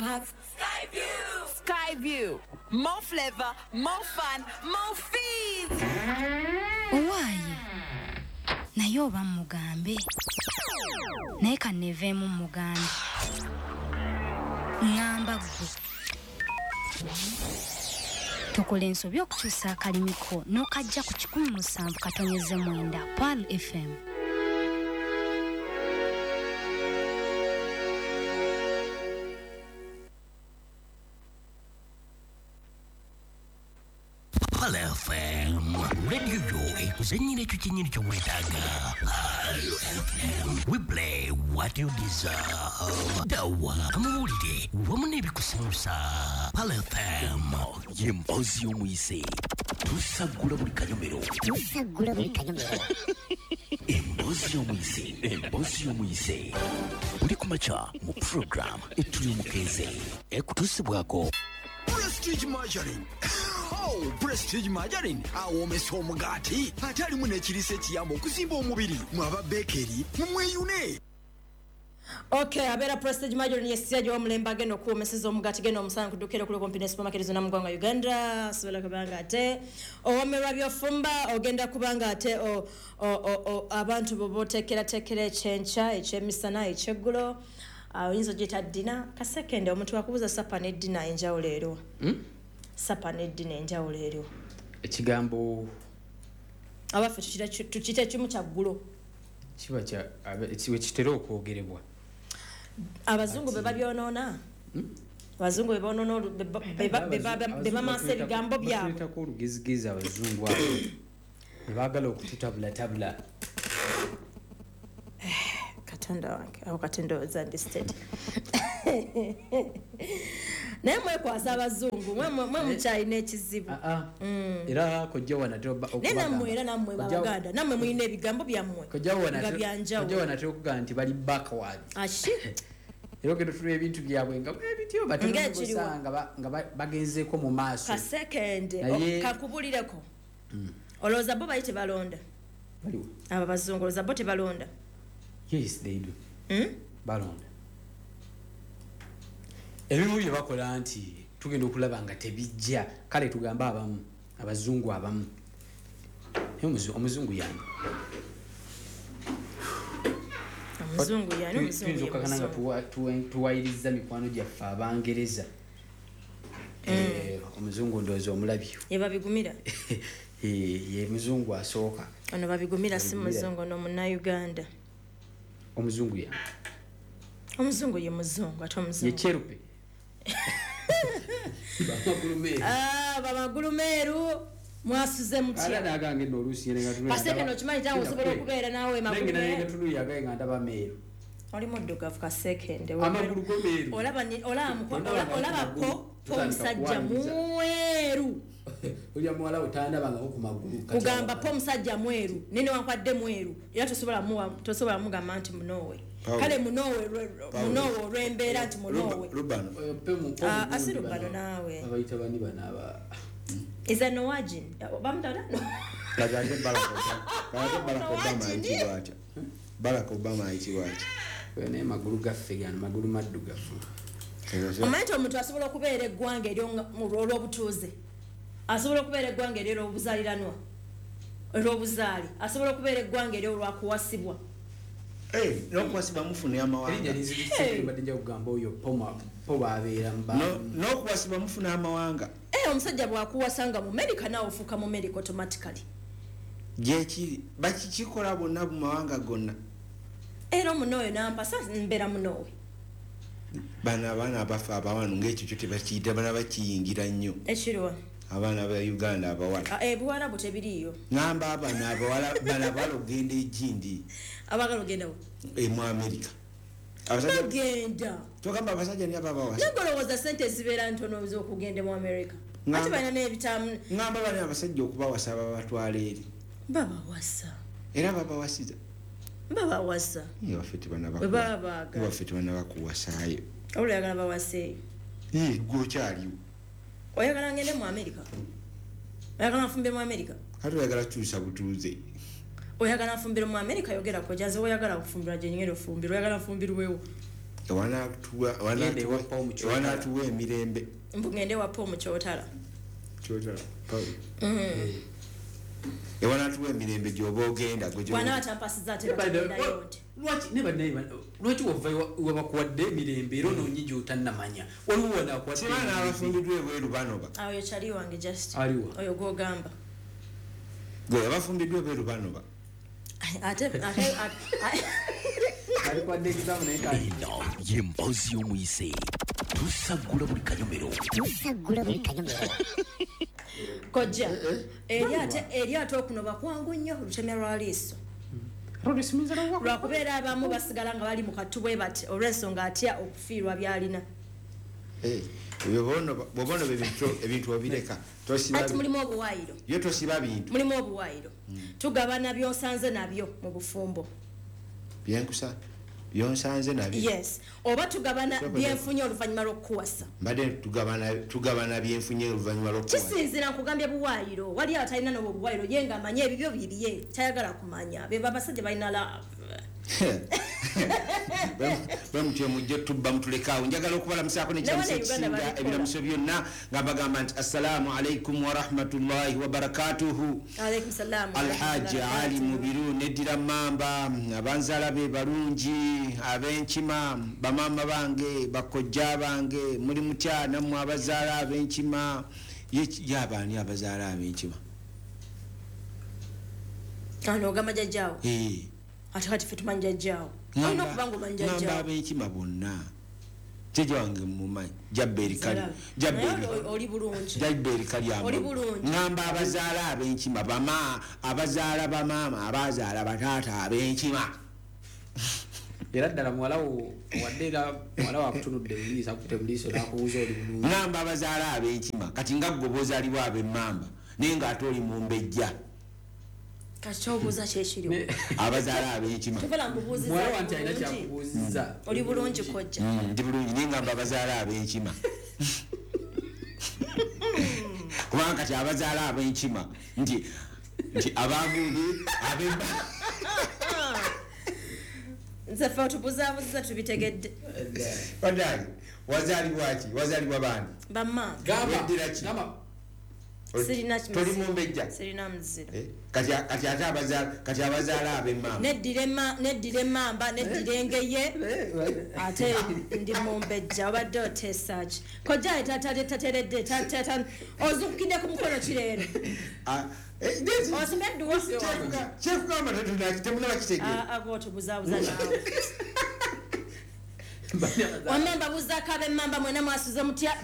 Have Skyview! Skyview. More flavor, more fun, more fees. Owaaye, naye oba mugambe, naye kanneeveemu mugambe. Ŋŋamba ggwe, tukola ensobi okukyusa akalimiko n'okajja ku 107.9 Pearl FM. Pearl FM, radio yo ekuzannyira ekyo kyennyini ky'oweetaaga. Pearl FM, we play what you deserve. Dawa, amawulire wamu n'ebikusanyusa. Pearl FM ye mboozi y'omuyise. Tusaggula buli kanyomero. Tusaggula buli kanyomero. Emboozi y'omuyise, emboozi y'omuyise. Buli ku makya mu program Etuli Omukeeze ekutuusibwako Prestige Margarine. Oh, Prestige Margarine awoomesa omugaati ate alimu n'ekiriisa ekiyamba okuzimba omubiri. Mwaba bekeri mumweyune. Okay, abeera Prestige Margarine yesijja omulembe agenda okuwoomeseza omugaati genda omusana kudukira kuli kumpi ne supermarket zonna mu ggwanga Uganda. Sobola kubanga ate owomerwa by'ofumba, ogenda kubanga ate abantu bo boteekerateekera ekyenkya, ekyemisana, ekyeggulo. Oyinza ogiyita ddina. Kasekende omuntu akubuuza sapa ne ddina enjawulo eriwo. Sapa ne ddina enjawulo eriwo. Ekigambo abaffe tukiyita kimu kya ggulo. Kiba kya kitera okwogerebwa. Abazungu be babyonoona. Abazungu be bonoona be bamasa ebigambo byabwe. Batuleetako olugezigezi abazungu abo. Ne baagala okututabulatabula. Katonda wange, awo kati ndowooza ndi state. Naye mwekwasa abazungu, mwe mukyalina ekizibu. Era kojja wanatera Naye nammwe era nammwe Abaganda, nammwe mulina ebigambo byammwe nga bya njawulo. Kojja wanatera okugamba nti bali backwards. Ashi? Era ogenda otunula ebintu byabwe nga ebityo Ng'ekiriwa. nga bagenzeeko mu maaso. Kasekende, kakubulireko. Olowooza bo bali tebalonda? Baliwa? Abo abazungu olowooza bo tebalonda? Yes, they do. Balonda. Ebimu bye bakola nti tugenda okulaba nga tebijja. Kale tugambe abamu, abazungu abamu. Naye omuzungu yani? Omuzungu yani, omuzungu Tuyinza ye okukakana nga muzungu. tuwayiriza mikwano gyaffe Abangereza. Omuzungu ndowooza omulabye. Ye babigumira? Ye muzungu asooka. Ono babigumira si Babigumira. muzungu, ono Munnayuganda. Omuzungu yani? Omuzungu ye muzungu, ate omuzungu. Ye kyerupe. Bamagulu meeru. Bamagulu meeru, mwasuze mutya? Ala nagange nno oluusi ngenda tunula Kaseke ndaba- no kimanyi kyangu osobola okubeera naawe magulu Nengenda meeru. nengenda tunula yagaye nga ndaba meeru. Oli muddugavu Kasekende. Amagulu go meeru. Olaba ni-, olaba muko-, Olaba olaba amagulu. ko Tutandika omusajja kuwaniriza. mweru. Olya muwala we tandabangako ku magulu. Kati Kugamba awo- po omusajja mweru, nene wankwadde mweru, era tosobola mugamba nti munoowe. Paul. Kale Paul. munoowe olw'embeera nti munoowe. Rubano. Pe mu Asi gundi Rubano bano. naawe. Babayita bani bano aba- Is that Noajin? Bamutala? No. Kati ate Barack Obama. Kati ate Barack Obama Noajin. ayitibwa atya? Barack Obama ayitibwa atya? Oyo naye magulu gaffe gano, magulu maddugavu. Omanyi nti omuntu asobola okubeera eggwanga eryo olw'obutuuze. Asobola okubeera eggwanga eryo olw'obuzaaliranwa. Olw'obuzaale. Asobola okubeera eggwanga eryo olw'akuwasibwa. N'okuwasibwa mufuna amawanga. Erinnya linzijukisa Hey. mbadde nja kugamba oyo po baabeera mu ba- N'okuwasibwa mufuna amawanga. Omusajja bw'akuwasa nga mu America naawe ofuuka mu America automatically. Gyekiri, bakikikola bonna mu mawanga gonna. Era omunooyo n'ampasa mbeera munoowe. Bano abaana abafa abawano ng'ekyo kyo tebakiyita, bana bakiyingira nnyo. Ekiriwa? Abaana ba Uganda abawala. Ebuwarabu tebiriiyo. Ngamba abaana abawala, bano abawala okugenda egindi. Abaagala ogenda wa? Mu America. Abasajja Bagenda. Togamba abasajja ni ababawasa. Naye olowooza ssente ezibeera ntono z'okugenda mu America. Ate balina n'ebitamu. Ngamba bano abasajja okubawasa babatwala eri. Babawasa. Era babawasiza. Babawasa. Ye waffe tebanaba Bwe kuwa- baba baagala. Ye waffe tebanaba kuwasaayo. Olwo oyagala bawaseeyo. Ye, ggwe okyaliwo. Oyagala ngende mu America? Oyagala nfumbire mu America? Kati oyagala kukyusa butuuze. Oyagala nfumbire mu America, yogera ko janze oyagala kufumbira gye ngenda ofumbirwa, oyagala nfumbirwewo. Ewanatuwa emirembe. Mbugende wa Paul Mukyotala. Kyotala Paul. Ewanatuwa emirembe gy'oba ogenda gwe Bwana atampasiza ate yote. Lwaki ne bannaye lwaki wava wabakuwadde emirembe era onoonye gy'otannamanya waliwo wanaakuwadde Sibaana abafumbiddwa ebweru banoba. Oyo kyali wange just. Aliwa? Oyo gw'ogamba. Gwe abafumbiddwa ebweru banoba. Ate alikuwadde ekigambo naye kali Eno ye mboozi y'omuyise. Tusaggula buli kanyomero. Tusaggula buli kanyomero. Kojja. Eri ate okunoba kwangu nnyo olutemya lwa liiso. Lwakubeera abamu basigala nga bali mu kattu bwe bati olw'ensonga atya okufiirwa by'alina. Bw'oba onoba ebintu obireka. Ati mulimu obuwaayiro. Yo tosiba bintu. Mulimu obuwaayiro. Tugabana by'osanze nabyo mu bufumbo. Byenkusa byonsanze nabyo. Yes. Oba tugabana byenfunye oluvannyuma lw'okuwasa. Mbadde tugabana byenfunye oluvannyuma lw'okuwasa. Kisinziira nkugambye buwaayiro. Wali atalina n'obwo buwaayiro ye ng'amanye ebibyo bibye tayagala kumanya. Be abasajja balina love. Bwe mujje tubba mutulekaawo. Njagala okubalamusaako n'ekiramuso ekisinga ebiramuso byonna nga bagamba nti assalaamu alaikum wa rahmatullahi wa barakatuhu. Alaikum salaam. Alhaji Ali Mubiru neddira Mamba, abanzaala be balungi ab'enkima, bamaama bange, bakojja bange, muli mutya nammwe abazaala ab'enkima. Ye abaani abazaala ab'enkima? Ano ogamba jjajjaawo? Ate kati ffe tumanyi jjajjaawo. Olina okuba ng'omanyi jjajjaawo. Ngamba ab'enkima bonna. Jjajja wange mmumanyi. Jabbeeri kali. Naye oli bulungi. Jabbeeri kali ambo. Oli bulungi. Ngamba abazaala ab'enkima, abazaala bamaama, abazaala bataata ab'enkima. Era ddala muwala wo wadde era muwala wo akutunudde mu liiso, akutte mu liiso n'akubuuza oli bulungi. Ngamba abazaala ab'enkima. Kati nga ggwe bw'ozaalibwa ab'emmamba, naye ng'ate oli mumbejja. Kati ky'obuuza kye kiriwo. Abazaala ab'enkima. Tovala mbubuuzizza. Muwala wange alina kyakubuuzizza. Oli bulungi kojja. Ndi bulungi naye ngamba abazaala ab'enkima. Kubanga kati abazaala ab'enkima nti abagundi ab'emba. Nze ffe otubuzaabuziza tubitegedde. Bannange, wazaalibwa ki? Wazaalibwa baani? Bammaama. Weddira ki? Sirina Toli mumbejja? Sirina muziro. Kati ate abazaala ab'emmamba. Neddira emmamba, neddira engeye, ate ndi mumbejja. Obadde oteesa ki? Kojja tateredde, ozuukukidde ku mukono ki leero? Osome edduwa. Kyekugamba temunaba kitegeera. Ggwe otubuzaabuza naawe. Wamma mbabuuzaako ab'emmamba mwena mwasuze mutya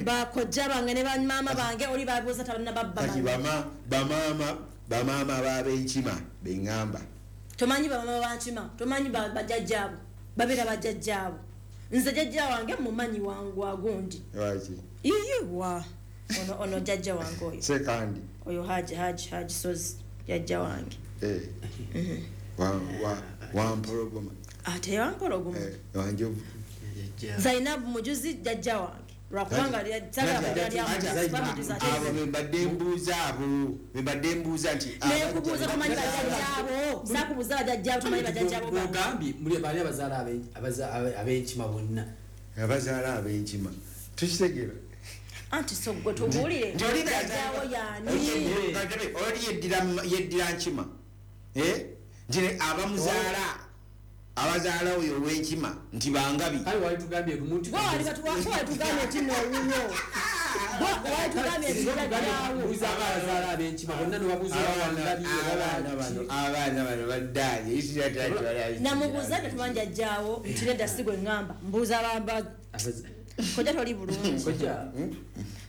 bakojja bange ne bamaama bange oli babuuza tabannababba. Kati bamaama b'abenkima be ŋŋamba. Tomanyi bamaama bankima, tomanyi bajjajjaabo, babeera bajjajjaabo. Nze jjajja wange mumanyi wangu agundi. Lwaki? Iyiwa. Ono jjajja wange oyo. Sekandi. Oyo Haji Sozi jjajja wange. Wampologoma. Ate wampologoma. Wanjovu. Zainabu Mujuzi jjajja wange. Lwakubanga abo bembadde mbuuza abo bembadde mbuuza nti nekubuuza tomanyi bajjajjaabo sakubuuza bajjajjaabo tomanyi bajjajjaabo ogambye muli bali abazaala ab'enkima bonna abazaala ab'enkima tukitegeera anti so gwe tubuulire jjajjaawo yaani oli yeddira nkima nti abamuzaala abazaala oyo ow'enkima nti bangabi. Kale wali tugambye omuntu wali tugambye nti n'owuwo wali tugambye nti jjajjaawo abazaala ab'enkima bonna ne babuuza bangabi abaana bano baddaanye namubuuza nti tumanyi jjajjaawo nti nedda si gwe ŋŋamba mbuuza bamba kojja toli bulungi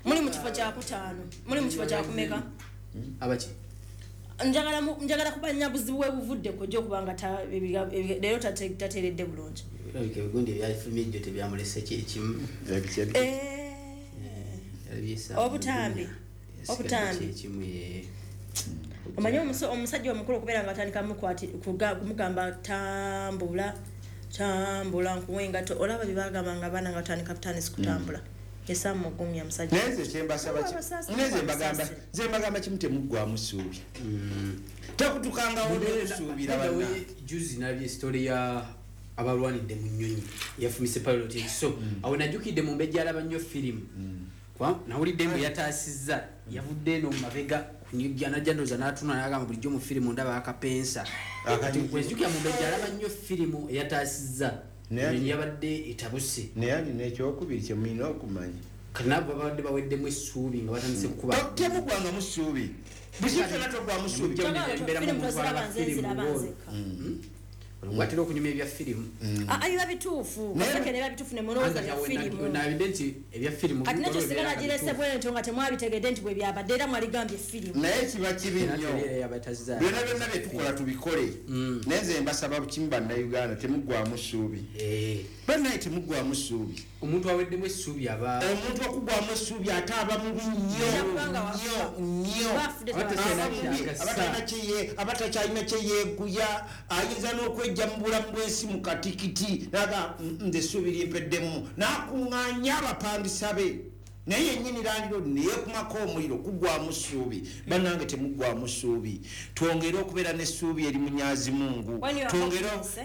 muli mu kifo kyakutaano muli mu kifo kyakumeka abaki njagala kumanya buzibu bwe buvudde kojja okubanga leero tateeredde bulungi. Olabika ebigundi ebyafulumye ejjo tebyamulese kyekimu. Obutambi omanyi omusajja omukulu okubeera nga atandika kumugamba tambula tambula nkuwe engatto olaba bye bagamba nga abaana nga batandika butandisi kutambula. Esamugumya musajja. Naye nze kyembasaba nze mbagamba kimu temuggwamu ssuubi. Tekutukangawo n'okusuubira banna. Juzi nalabye story ya Abalwanidde mu nnyonyi yafumise pilot ekiso. Awo najjukidde mu mbejja alaba nnyo firimu. Kwa nawulidde mbu yataasizza, yavudde eno mu mabega kunyujja najja ndowooza n'atunula n'agamba bulijjo mu firimu ndaba akapensa. Kati nkwezijukira mu mbejja alaba nnyo firimu eyataasizza. Ennyonyi yabadde etabuse. Naye alina ekyokubiri kye mulina okumanya. Kati nabo babadde baweddemu essuubi nga batandise kukuba. Temugwangamu ssuubi. Buli kyonna togwamu ssuubi. Firimu toziraba nze nziraba nzekka. Olwatera okunyumya ebya firimu. Biba bituufu. Kaseke ne biba bituufu ne mulowooza bya firimu. Nabidde nti ebya firimu. Kati nakyo singa nagirese bwentyo nga temwabitegedde nti bwe byabadde era mwaligambye firimu. Naye kiba kibi nnyo. Byonna byonna bye tukola tubikole. Naye nze mbasaba kimu bannayuganda temuggwamu ssuubi. Bannaye temuggwamu ssuubi. Omuntu aweddemu essuubi aba. Omuntu okuggwamu essuubi ate aba mubi nnyo. Nnyo. Abatakyalina kye yeeguya ayinza n'okwejja mu bulamu bw'ensi mu katikiti naga nze essuubi limpeddemu n'akuŋŋaanya abapangisa be naye yennyini landlord neyeekumako omuliro kuggwamu ssuubi. Bannange temuggwamu ssuubi, twongere okubeera n'essuubi eri Munyazi Mungu,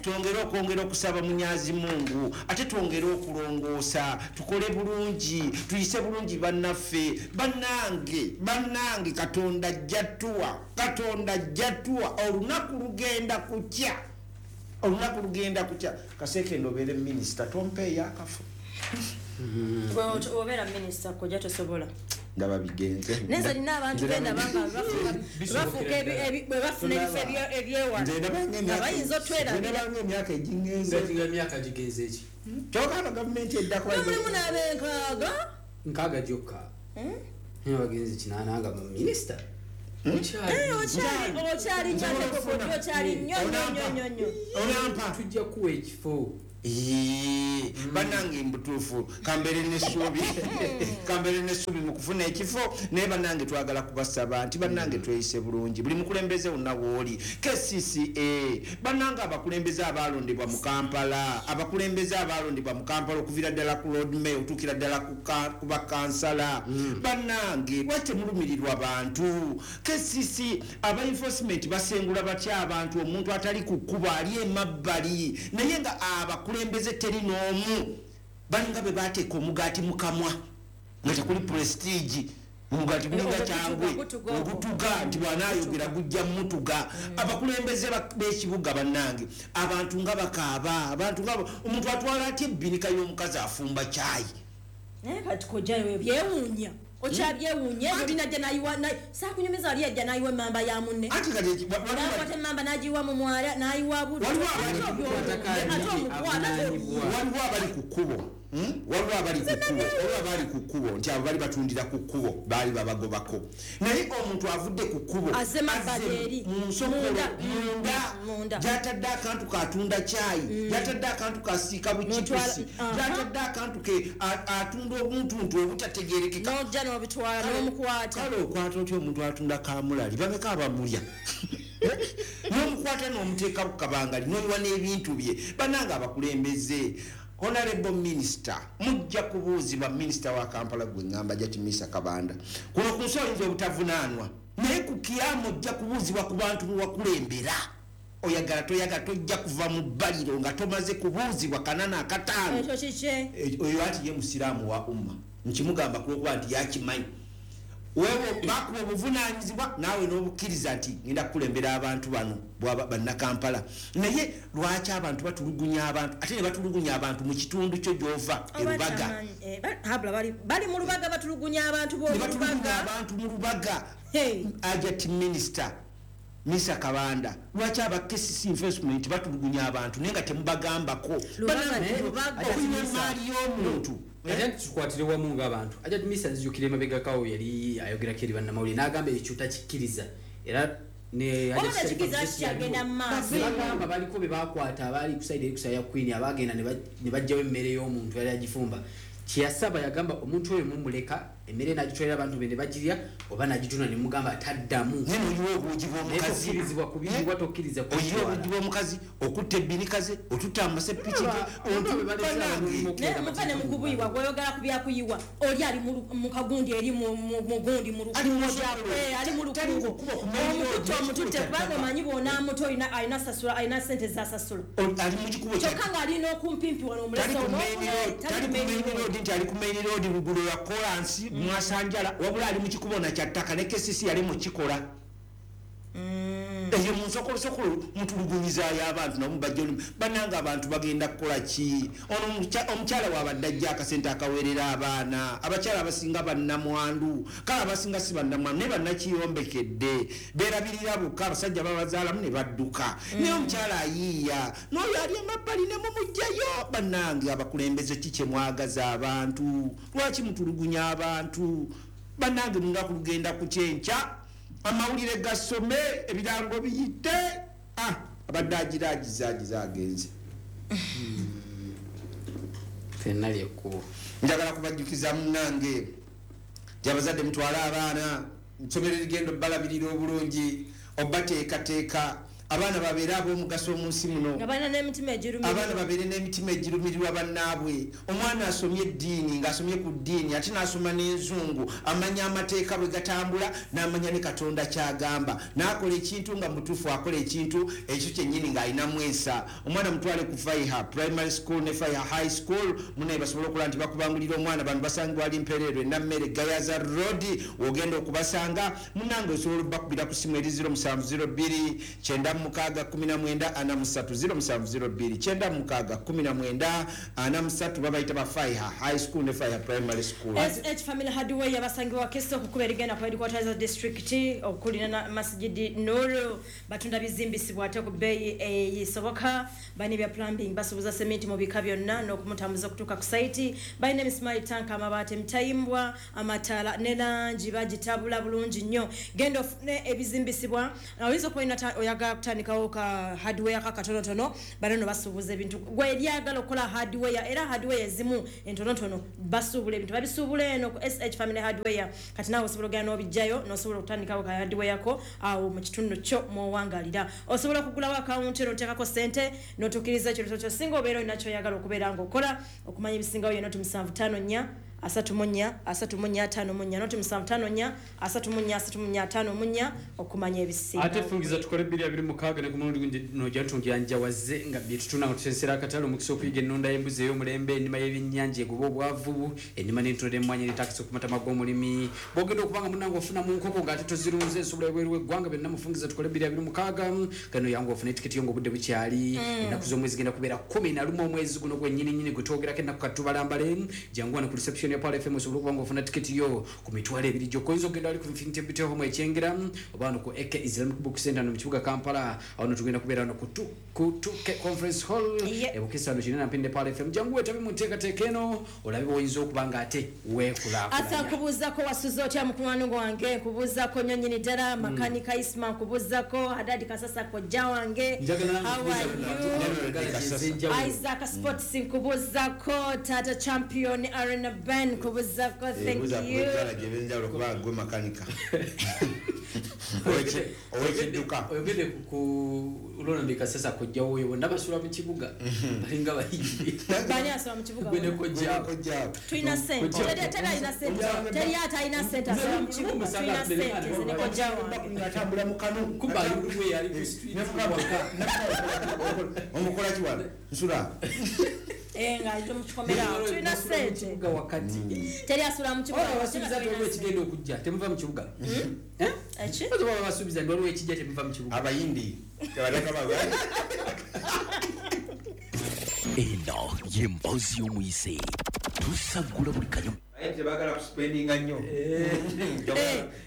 twongere okwongera okusaba Munyazi Mungu, ate twongere okulongoosa, tukole bulungi, tuyise bulungi bannaffe. Bannange, bannange, Katonda ajja tuwa, Katonda ajja tuwa, olunaku lugenda kukya, olunaku lugenda kukya. Kaseekende obeere minisita, tompeeyo akafo. Obeera minisita kojja tosobola. Ndaba bigenze. Nze nina abantu benda banga bafuuka bwe bafuna ebifo ebyewala. Bayinza otwerabira. Ndaba ng'emyaka egingenze. Emyaka gigenze ki? Kyokka ano gavumenti eddako. Mulimu n'ab'enkaaga. Nkaaga gyokka. Naye bagenze kinaana nga minisita. Okyali nnyo okyali nnyo nnyo nnyo nnyo. Onampa. Tujja kuwa ekifo. Bannange mbutuufu kambeere n'essuubi, kambeere n'essuubi mu kufuna ekifo. Naye bannange twagala kubasaba nti bannange tweyise bulungi buli mukulembeze wonna w'oli. KCCA bannange abakulembeze abaalondebwa mu Kampala, abakulembeze abaalondebwa mu Kampala okuviira ddala ku Lord Mayor otuukira ddala ku bakansala, bannange lwaki temulumirirwa bantu? KCC aba enforcement basengula batya abantu omuntu atali ku kkubo ali emabbali, naye nga abakulembeze teri n'omu balinga be bateeka omugaati mu kamwa nga tekuli prestige, omugaati gulinga kyangwe ogutuga nti bw'anaayogera gujja mutuga. Abakulembeze b'ekibuga bannange abantu nga bakaaba, abantu nga omuntu atwala atya ebbinika y'omukazi afumba caayi. Naye kati kojja byewuunya. Okyabyewuunya oli najja n'ayiwa saakunyumiza ali yajja n'ayiwa emmamba ya munne. N'akwata emmamba n'agiyiwa mu mwala n'ayiwa buddu. Ate omukwata. Waliwo abali ku kkubo, waliwo abali ku kkubo, waliwo abali ku kkubo nti abo bali batundira ku kkubo baali babagobako. Naye omuntu avudde ku kkubo azze mabbali eri mu nsokolo munda gy'atadde akantu k'atunda caayi, gy'atadde akantu k'asiika buchipusi, gy'atadde akantu ke atunda obuntuntu obutategeerekeka. N'ojja n'obitwala n'omukwata. Kale okwata otya omuntu atunda kaamulali, bameka abamulya? N'omukwata n'omuteeka ku kabangali n'oyiwa n'ebintu bye. Bannange abakulembeze, Honorable Minister, mujja kubuuzibwa minisita wa Kampala gwe ŋŋamba Jatimisa Kabanda. Kuno ku nsi oyinza obutavunaanwa, naye ku kiyama ojja kubuuzibwa ku bantu bewakulembera. Oyagala toyagala tojja kuva mu bbaliro nga tomaze kubuuzibwa 45. Ekyo kiki? Oyo ati ye musiraamu wa umma. Nkimugamba kulwokuba nti yakimanyi. Wewe bakuwa obuvunaanyizibwa naawe n'obukkiriza nti ngenda kukulembera abantu bano bannakampala. Naye lwaki abantu batulugunya abantu ate ne batulugunya abantu mu kitundu kyo gy'ova e Lubaga? Bali mu Lubaga batulugunya abantu b'omu Lubaga. Abantu mu Lubaga. Ajati minisita Misa Kabanda, lwaki aba KCC enforcement batulugunya abantu naye nga temubagambako? Okunywa emaali y'omuntu. Ate tukwatire wamu ng'abantu. Ajati Misa nzijukira emabegakawo yali ayogerako eri bannamawulire n'agamba ekyo takikkiriza. Era ne bagamba baliko be baakwata abaali ku side eri ku side ya Queen abaagenda ne baggyawo emmere y'omuntu yali agifumba. Kyeyasaba yagamba omuntu oyo mumuleka emmere n'agitwalira abantu be ne bagirya oba n'agitunda ne mugamba ataddamu. Naye noyiwa obuugi bw'omukazi. Tokkirizibwa kubiyiwa, tokkiriza oyiwa obuugi bw'omukazi, okutta ebbinikaze, otutta amasepiki ge. Naye muva ne mukubuyiwa, gweoyogera ku byakuyiwa, oli ali mu kagundi eri mu gundi mu Ali mu lukuubo, ali mu Tali lukuubo. kukuba ku main road, Omututte, omututte, kubanga omanyi bw'onaamuta alina sasula, alina sente zasasula. Ali mu kikubo kya Kyokka ng'alina okumpimpi wano tali omulese ku main road, tali ku main road nti ali ku main road luguudo lwa kolansi mwasanjala, wabula ali mu kikubo na kya ttaka ne KCC yali mukikola eyo mu nsokolosokolo. Mutulugunyizaayo abantu namu bajja olimu. Bannange, abantu bagenda kukola ki? Ono omukyala waabadde ajja akasente akaweerera abaana. Abakyala abasinga bannamwandu, kale abasinga si bannamwandu naye bannakiyombekedde, beerabirira bokka, abasajja babazaalamu ne badduka. Naye omukyala ayiiya n'oyo ali emabbali ne mumugjayo. Bannange, abakulembeze, ki kye mwagaza abantu? Lwaki mutulugunya abantu? Bannange, lunaku lugenda ku kyenkya, amawulire gasome, ebirango biyite. Ah, abadde agira agiza agiza agenze. Fenna lyekkubo. Njagala kubajjukiza munange nti abazadde mutwale abaana nsomero erigenda obbalabirira obulungi, obateekateeka abaana babeere ab'omugaso mu nsi muno. Nga balina n'emitima egirumirwa. Abaana babeere n'emitima egirumirirwa bannaabwe. Omwana asomye eddiini, ng'asomye ku ddiini ate n'asoma n'enzungu, amanya amateeka bwe gatambula, n'amanya ne Katonda kyagamba, n'akola ekintu nga mutuufu, akola ekintu ekyo kyennyini ng'alinamu ensa. Omwana mutwale ku Faiha Primary School ne Faiha High School, munaye basobole okulaba nti bakubangulira omwana. Bano basangibwa ali Mpereerwe, Nammere, Gayaza Road wogenda okubasanga. Munange, osobola obbakubira ku simu eri 0702 96 19 43, 0702 96 19 43. Babayita ba Faiha High School ne Faiha Primary School. SH Family Hardware basangibwa Keso kukuba erigenda ku headquarters za district okulina Masjidi Nuru. Batunda bizimbisibwa ate ku bbeeyi eyisoboka. Balina ebya plumbing, basuubuza sementi mu bika byonna n'okumutambuza okutuuka ku site. Balina emisimaali, tanka, amabaati, emitayimbwa, amataala ne langi bagitabula bulungi nnyo. Genda ofune ebizimbisibwa. Oyinza okuba olina oyagala kutandikawo ka hardware ka katonotono, bano no basuubuza ebintu. Gwe eryagala okukola hardware, era hardware ezimu entonotono basuubula ebintu, babisuubula eno ku SH Family Hardware. Kati naawe osobola ogenda n'obijjayo n'osobola okutandikawo ka hardware ko awo mu kitundu kyo mw'owangalira. Osobola okugulawo akawunti eno, oteekako sente n'otuukiriza ekirooto kyo singa obeera olina kyoyagala okubeera ng'okola. Okumanya ebisingawo ye 0754 34 34 54, 0754 34 34 54 okumanya ebisingawo. Ate fungiza tukole 2026 ne ku mulundi guno nojja njawaze nga byetutunda nga tusensera akatale, omukisa okuyiga ennunda y'embuzi ey'omulembe, ennima y'ebyennyanja egoba obwavu, ennima n'entunda emmwanyi netakisa ku matama g'omulimi, bwogenda okuba nga munnange ofuna mu nkoko ng'ate tozirunze, ensobola ebweru w'eggwanga, byonna mufungiza tukole 2026. Gano yangu ofuna etiketi yo ng'obudde bukyali. Ennaku z'omwezi genda kubeera 11 omwezi guno gwennyini gwe twogerako ennaku katubalambale. Jangu wano ku reception ya Pearl FM osobola okuba nga ofuna tiketi yo ku 20,000 gyokka. Oyinza okugenda wali ku Infinity Beauty Home ekyengera oba wano ku AK Islamic Book Center no mu kibuga Kampala. Awo no tugenda kubeera wano ku 2K Conference Hall ebukisa wano kinene Mpinde Pearl FM. Jangu weetabe mu nteekateeka eno olabe bw'oyinza okuba nga ate Asa, weekulaakulanya. Nkubuuzako wasuze otya mukwano gwange? Nkubuuzako nnyo nnyini ddala. Makanika Isma nkubuuzako, Hadadi Kasasa kojja wange. Njagala How are you? Isaac Sports nkubuuzako, Tata Champion Arena Ben nkubuuzako, thank you. Gyebenjawulo kuba gwe makanika owekidduka. Oyogedde ku Ronald Kasasa kojjawo oyo, bonna basula mu kibuga balinga bayimbi. Bani asoma mu kibuga? Gwe ne kojjaawo. Tulina sente. Teri alina sente, teri ate alina sente asoma mu kibuga. Tulina sente, nze ne kojja wange. Ngaatambula mu kanu. Kuba ali ali ku street waka. Omukola kiwano nsula. Eh, nga ali mu kikomera awo. Tulina Basula mu sente. kibuga wakati. Teri asula mu kibuga. Oba basuubiza nti waliwo ekigenda okujja temuva mu kibuga. Eh? Eki? Oba baba basuubiza nti waliwo ekijja temuva mu kibuga. Abayindi tebaleka baga. Eno ye mboozi y'omuyise, tusaggula buli kanyuma. Tebagala kuspendinga nnyo.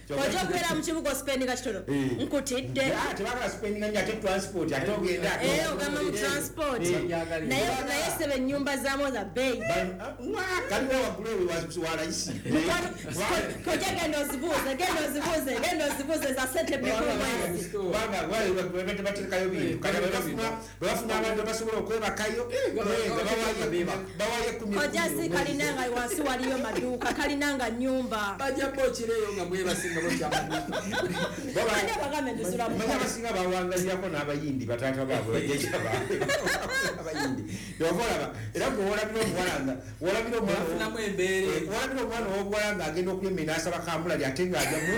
Ojja okubeera mu kibuga ospendinga kitono. Nkutidde. Tebagala spendinga nnyo, ate transport ate ogenda. Ogamba mu transport. Naye sebe ennyumba zaamu za bbeeyi. Kaliwo waggulu ewe wa layisi. Kojja genda ozibuuze, genda ozibuuze, genda ozibuuze za ssente mmeka omwezi. Kubanga bateekayo bintu. Kati bwe bafuna abantu abasobola okwebakayo, bawayo 10. Kojja si kalina nga wansi waliyo maduuka, kalina nga nnyumba. Bajja bokireyo nga mwebasinga bokyamaduuka. Ani abagambe ndisula mu Manya abasinga bawangalirako n'abayindi bataata baabwe bajjajja baabwe abayindi. Yova olaba era gwe wolabira omuwala nga wolabira omwana Bafunamu embeera. Wolabira omwana ow'obuwala ng'agenda okulya emmere n'asaba kamulali ate ng'ajja mu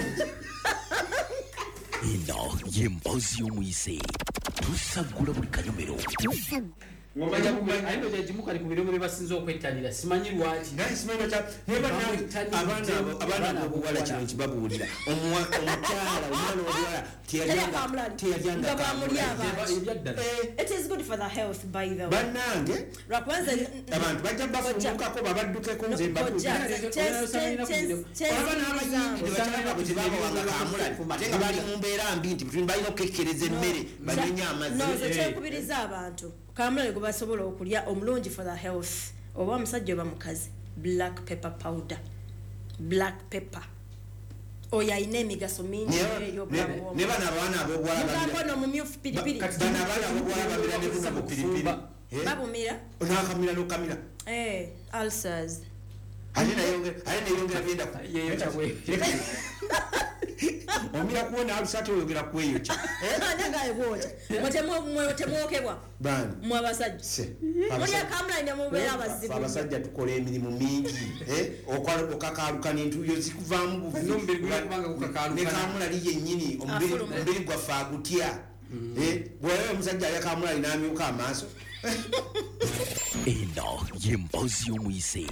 Eno y'emboozi y'omuyise. Tusaggula buli kanyomero. Ng'omanya kumanya. Aye ndowooza egimu kali ku birungo bye basinze okwettanira, simanyi lwaki. Naye simanyi lwaki naye bannange, abaana ab'obuwala kino nkibabuulira. Omukyala, omwana ow'obuwala Teyalya kamulali. Teyalyanga Nga bwamulya kamulali. abantu. Ebyaddala. It is good for the health, by the way. Bannange, Lwakubanza abantu bajja bafuumukako babaddukeko nze mbabuulira. Kojja, Olaba n'abayindi bakyala baabwe tebabawanga kamulali ate nga bali mu mbeera mbi nti balina okukekkereza emmere banyenye amazzi. No, nze kyenkubiriza abantu kamulali gwe basobola okulya omulungi for the health, oba omusajja oba mukazi, black pepper powder. Black pepper oyo alina emigaso mingi eri obulamu Ne bw'omuntu. bano abaana ab'obuwala Mugamba ono mumyufu piripiri. Bano abaana ab'obuwala bamira ne buno bu piripiri. Babumira. N'akamira n'okamira. Ulcers. Ate neyongera byenda Yeeyokya bwe. Omira kuwona ulcer ate oyongera kweyokya. Ani agaye bw'otya? Mwe temwokebwa. Baani? Mwe abasajja. Se. Mulya kamulali ne mubeera abazibu. Abasajja tukola emirimu mingi. Okakaaluka n'entuuyo zikuvaamu buvi. N'omubiri gulina kubanga gukakaalukana. Ne kamulali yennyini, Afuluma. omubiri gwaffe agutya. Bw'olaba omusajja alya kamulali n'amyuka amaaso. Eno y'emboozi y'omuyise.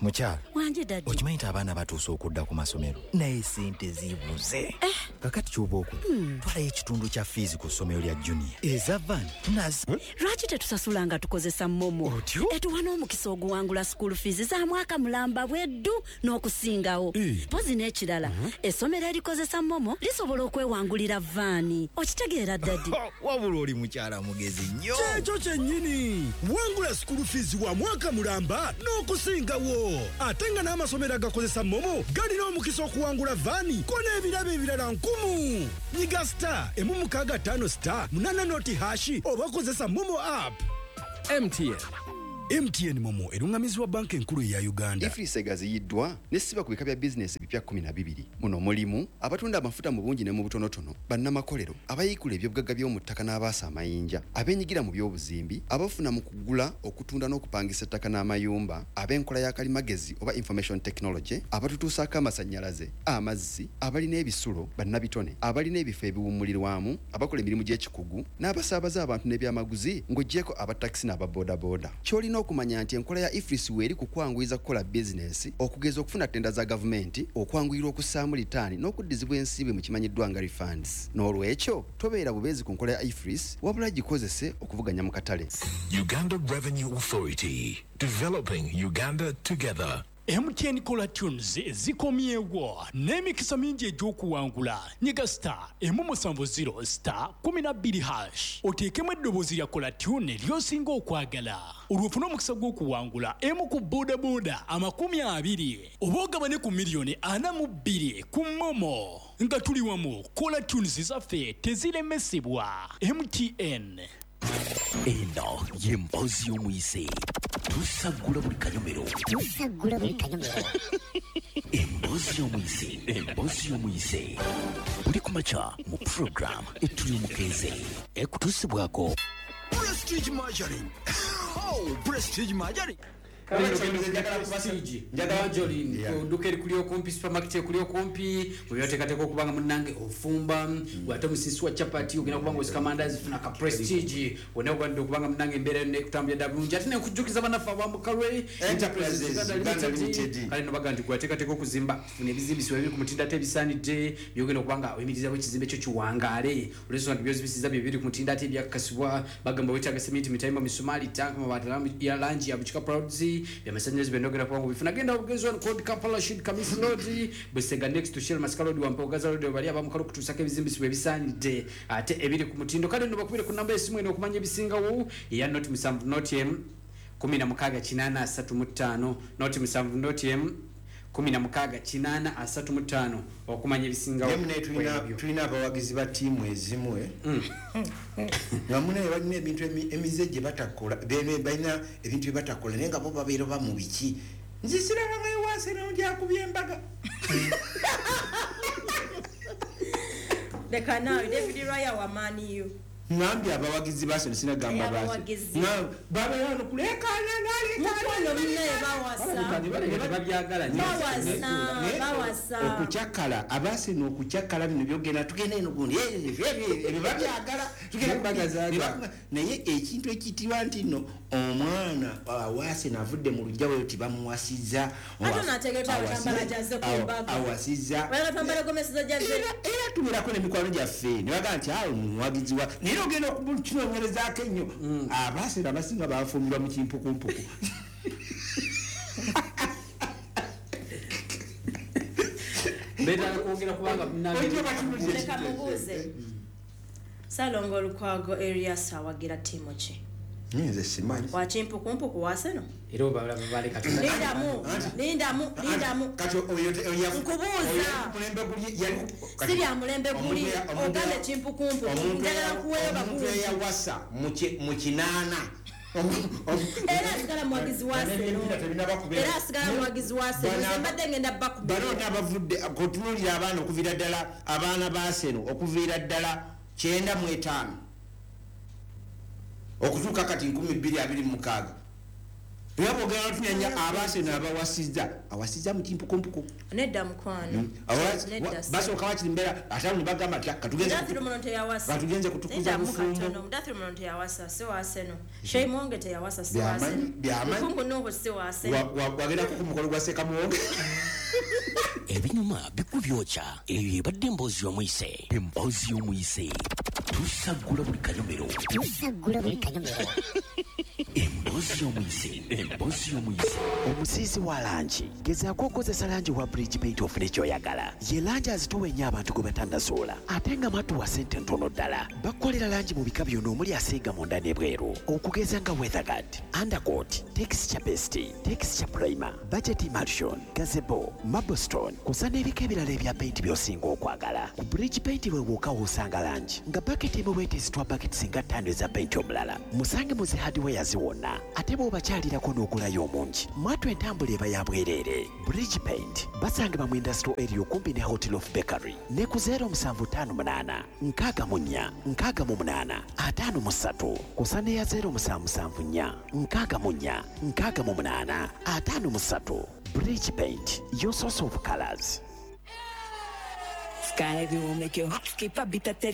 Mukyala. Wanje daddy. Okimanyi nti abaana batuuse okudda ku masomero naye sente zibuze. Kakati ky'oba okola, twalayo ekitundu kya fiizi ku ssomero lya junior eza van tunazi. Lwaki tetusasula nga tukozesa MoMo? Otyo? Etuwa n'omukisa oguwangula school fees za mwaka mulamba bweddu n'okusingawo. Mpozi n'ekirala, essomero erikozesa MoMo lisobola okwewangulira vaani. Okitegeera daddy? Wabula oli mukyala mugezi nnyo. Kyekyo kyennyini. Wangula school fees wa mwaka mulamba n'okusingawo. Ate nga n'amasomero agakozesa MoMo galina omukisa okuwangula vaani ko n'ebirabo ebirala 10. Nyiga star 165 star 8 noti hashi oba kozesa MoMo app. MTN. MTN MoMo erungamizibwa banka enkulu eya Uganda. EFRIS egaziyiddwa n'essiba ku bika bya bizinesi ebipya 12. Muno mulimu abatunda amafuta mu bungi ne mu butonotono, bannamakolero, abayiikula ebyobugagga by'omu ttaka n'abaasa amayinja, abeenyigira mu by'obuzimbi, abafuna mu kugula, okutunda n'okupangisa ettaka n'amayumba, ab'enkola ya kalimagezi oba information technology, abatutuusaako amasannyalaze, amazzi, abalina ebisulo, bannabitone, abalina ebifo ebiwummulirwamu, abakola emirimu gy'ekikugu, n'abasaabaza abantu n'ebyamaguzi ng'oggyeko abatakisi n'ababoodabooda. Ky'olina okumanya nti enkola ya EFRIS weeri ku kwanguyiza kukola bizinesi, okugeza okufuna ttenda za gavumenti, okwanguyirwa okussaamu litaani n'okuddizibwa ensimbi mu kimanyiddwa nga refunds. N'olwekyo tobeera bubeezi ku nkola ya EFRIS, wabula gikozese okuvuganya mu katale. Uganda Revenue Authority, developing Uganda together. MTN Caller Tunes zikomyewo n'emikisa mingi egy'okuwangula. Nyiga star 170 star 12 hash oteekemu eddoboozi lya Caller Tune ly'osinga okwagala, olwo ofune omukisa gw'okuwangula emu ku boodabooda 20 oba ogabane ku miliyoni 42 ku MoMo. Nga tuli wamu, Caller Tunes zaffe teziremesebwa. MTN. Eno y'emboozi y'omuyise. Tusaggula buli kanyomero. Tusaggula buli kanyomero. Emboozi y'omuyise. Emboozi y'omuyise. Buli kumakya mu program etuli omukeeze. Ekutuusibwako Prestige Margarine. Oh, Prestige Margarine. Nduka erikuli okumpi, supermarket ekuli okumpi, bwebyoteekateeka okubanga munnange ofumba, ate omusisi wa chapati ogenda kubanga osika mandazi, funa ka Prestige wonna ogwanidde okubanga munnange embeera yonna ekutambulira ddala bulungi. Ate nenkujjukiza bannaffe abamukalwe Enterprises Uganda Limited. Kale no baga nti gwateekateeka okuzimba, funa ebizimbisibwa ebiri ku mutindo ate ebisaanidde byogenda okubanga oyimirizaawo ekizimbe kyo kiwangaale, olw'ensonga nti byozibisiza bye biri ku mutindo ate ebyakakasibwa. Bagamba weetaaga sementi, mitayimba, misumaali, tanka, mabaati ya langi ya bukika proudzi TV byamasanyalaze byonna ogenda kuba nga obifuna. Genda obugenzi wano code Kampala Shid Kamis Road, Busega next to Shell Masaka Road, Wampa Gaza Road, bali abamukalo kutuusako ebizimbisibwa ebisaanidde ate ebiri ku mutindo. Kale nno bakubire ku namba y'essimu eno okumanya ebisingawo eya 070 0 16 835 070 0 16 835 okumanya ebisingawo. Naye tulina abawagizi ba ttiimu ezimu nga munaye balina ebintu emize gye batakola, balina ebintu bye batakola naye nga bo babeera ba mu biki. Nze sirabangayo Arsenal gyakubye embaga. Leka naawe David Raya wa Man U. Ngambye abawagizi ba Arsenal, sinagamba ba Arsenal. Babeera wano kuleekaana Mukwano munnaye bawasa. Tebabyagala nnyo. Bawasa. Okukyakala abaseno okukyakala bino byogenda tugenda eno gundi ebyo babyagala tugenda Embaga naye ekintu ekiyitibwa nti nno omwana wa Arsenal avudde mu luggya weyo tibamuwasizza Ate n'ategeera abatambala gy'azze ku mbaga. Awasizza. Wala tambala gomesiza gy'azze. Era tubeerako n'emikwano gyaffe ne bagamba nti awo muwagizi wa naye ogenda okukinoonyerezaako ennyo abaseno abasinga bafumbirwa mu kimpukumpuku. Beetaaga kwogera kubanga Leka mubuuze. Ssalongo Lukwago Erias awagira ttiimu ki? Nze simanyi. Wa kimpukumpuku wa Arsenal? Era obalaba baleka Lindamu, lindamu, lindamu. Kati oyo Nkubuuza. Mulembe guli yali Si bya mulembe guli, ogambe kimpukumpuku. Njagala nkuweeyo omuntu bagunzi. eyawasa mu kinaana Era asigala muwagizi wa Arsenal. Era asigala muwagizi wa Arsenal. Nze mbadde ngenda bakubira. Bano abavudde kutunuulira abaana okuviira ddala abaana ba Arsenal okuviira ddala 95 okutuuka kati 2026 era bwogenda tunyanya aba Arsenal abawasizza awasizza mu kimpukumpuku. Nedda mukwano. Nedda. Basooka wakiri mbeera ate ne bagamba nti katugenze Mudathir Muno teyawasa. Katugenze kutukuza Nedda bufumbo. mukatono. Mudathir Muno teyawasa, si wa Arsenal. Sheikh Mwonge teyawasa, si wa Byamanyi, Arsenal. byamanyi. Lukungu Nuhu si wa Arsenal. Wagendako ku mukolo gwa Sekamuwonge. Ebinyuma bikubyokya eyo ebadde emboozi y'omuyise. Emboozi y'omuyise tusaggula buli kanyomero. Tusaggula buli kanyomero. Emboozi y'omuyise, emboozi y'omuyise. Omusiizi wa langi gezaako okozesa langi wa Bridge Paint ofune ky'oyagala. Ye langi azitowa ennyo abantu gwe batannasoola ate nga matuwa ssente ntono ddala. Bakukolera langi mu bika byonna omuli asiiga munda n'ebweru okugeza nga weatherguard, undercoat, texture paste, texture primer, budget emulsion, gazebo, marblestone kw'ossa n'ebika ebirala ebya paint by'osinga okwagala. Ku Bridge Paint we wokka w'osanga langi nga baketi emu bwetezitwa baketi singa 5 eza paint omulala. Musange mu zi hardwares wonna ate bw'obakyalirako n'ogulayo omungi mwatu entambula eba ya bwereere. Bridge Paint basangibwa mu industrial area okumpi ne Hotel of Bakery ne ku 0758 64 68 53 kw'ossa n'eya 0774 64 68 53. Bridge Paint, your source of colors. Sky View will make your heart skip a beat at